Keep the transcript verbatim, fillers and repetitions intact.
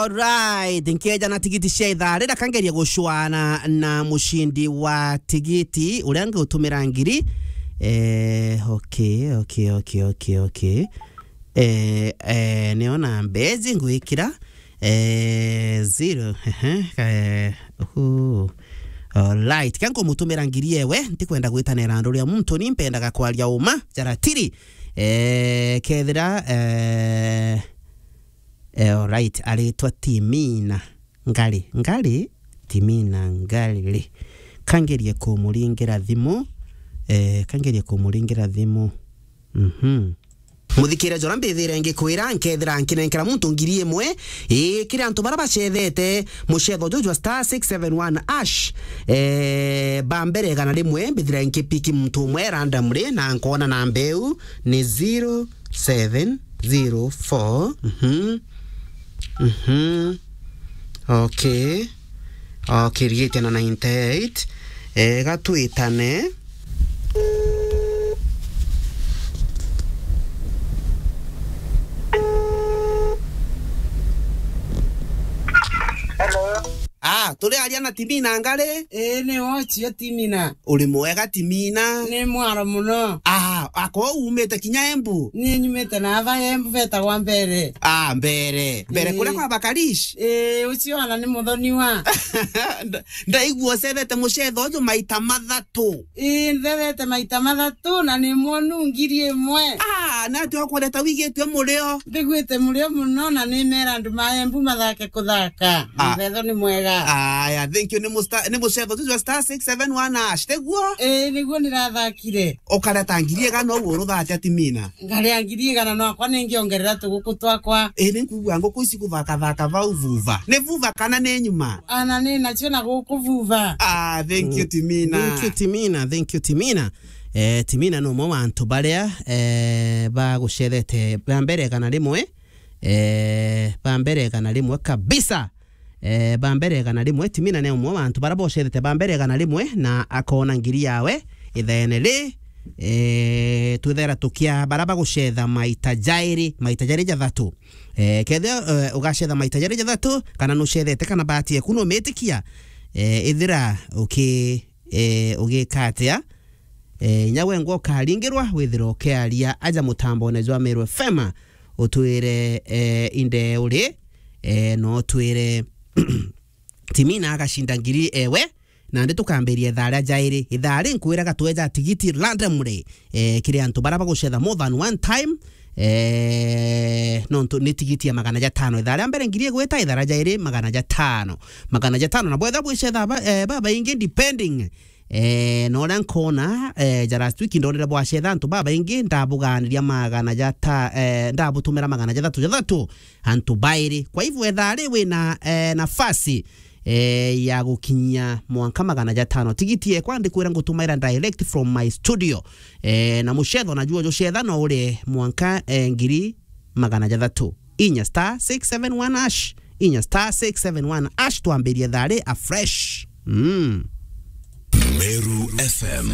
Right, nkeja na tigiti cia ithaa rira kangeria gucwana na mucindi wa tigiti uria ngutumira ngiri. Eh, okay, okay, okay, okay, okay. Eh, eh, niona mbezi ngwikira. Eh, zero. Ehe, eh, uhu. Alright, kia nkumutumira ngiri ewe, ntikwenda gwitanira andu ria muntu, ni mpendaga kwaria uma, jaratiri. Eh, kethira, eh, eh, alright, aritwa Timina Ngari, Ngari, Timina Ngari. Kangerie kumuringira thimu, eh, kangerie kumuringira thimu. Mhm. Muthikire jora mbithire ngikwira, nkethira nkinenkera muntu ngiri imwe, ii, kiri antu bara bacethete mucetho juju jwa star six seven one hash. Eh, ba mbere igana rimwe, mbithire nkipiki muntu umwe randomly, na nkona namba iu ni zero seven zero four. Mhm. Mhm. Okay. Okay, rigitie na ninety eight. Eh, gatwitane. Hello. Ah, turi aria na Timina Ngari? Ii, ni wochio Timina. Uri mwega Timina? Ni mwaro muno. Ah, ako umite kinya Embu? Ni nyumite na ava Embu vetagwa Mbere. Ah, Mbere. Mbere kuria kwa Bakarish? Ii, ucio ona ni muthoniwa. Nda-, ndaigua ucethete mucetho uju maita mathatu. Ii, nthethete maita mathatu na ni mwonu ngiri imwe. Ah, na ati ukwendeta wigitue murio? Mbiguite murio muno na ni mera andu ma Embu mathake kuthaka. Ah. Muthetho ni mwega. Aya, thank you. Ni musta-, ni mucetho tu jwa star six seven one hash, teguo? Ii, niguo nirathakire. Ukareta ngiri igana uguo uruthate ati Mina? Ngaria ngiri igana no akwa ningiongerera tuguku twakwa. Ii, ni nkugua nguku ici kuthakathaka vau vuva. Ni vuva kana ni nyuma? Ana ni nacio na guku vuva. Ah, thank you, Timina. Thank you, Timina. Thank you, Timina. Eh, Timina ni umwe wa antu baria, eh, bagucethete ba mbere igana rimwe. Eh, ba mbere igana rimwe kabisa. Eh, ba mbere igana rimwe, Timina ni umwe wa antu bara bocethete ba mbere igana rimwe na akona ngiri yawe ithaene ri. Eh, twithera tukia bara bagucetha maita jairi, maita jairi jathatu. Eh, kethira, eh, ugacetha maita jairi jathatu, kana nucethete kana bahati eku numitikia, eh, ithira uki-, eh, ugika atia? Eh, inya we ngwa ukaringirwa, withira ukiaria aja mutambone jwa Meru F M, utwire, eh, inde uri, eh, no utwire Timina agacinda ngiri ewe, nandi tukambiria ithaa ria jairi. Ithaa ri nkwiraga tweja tigiti randomly, eh, kiri antu bara bagucetha more than one time, eh, nontu ni tigiti ya magana jatano. Ithaa ria mbere ngiri igwita, ithaa ria jairi magana jatano. Magana jatano, na bwetha bwicetha ba-, eh, babaingi depending Eh, na uria nkona, eh, ja last week ndonire bwacetha antu babaingi, ndabugaaniria magana jata-, eh, ndabutumira magana jathatu jathatu antu bairi. Kwa hivyo, etha ri wina, eh, nafasi, eh, ya gukinyia mwanka magana jatano. Tigiti ekwa ndikwira ngutumaira direct from my studio. Eh, na mucetho najuo jucetha no uri mwanka, eh, ngiri magana jathatu. Inya star six seven one hash. Inya star six seven one hash, twambirie thaa ri afresh. Mm. Meru F M.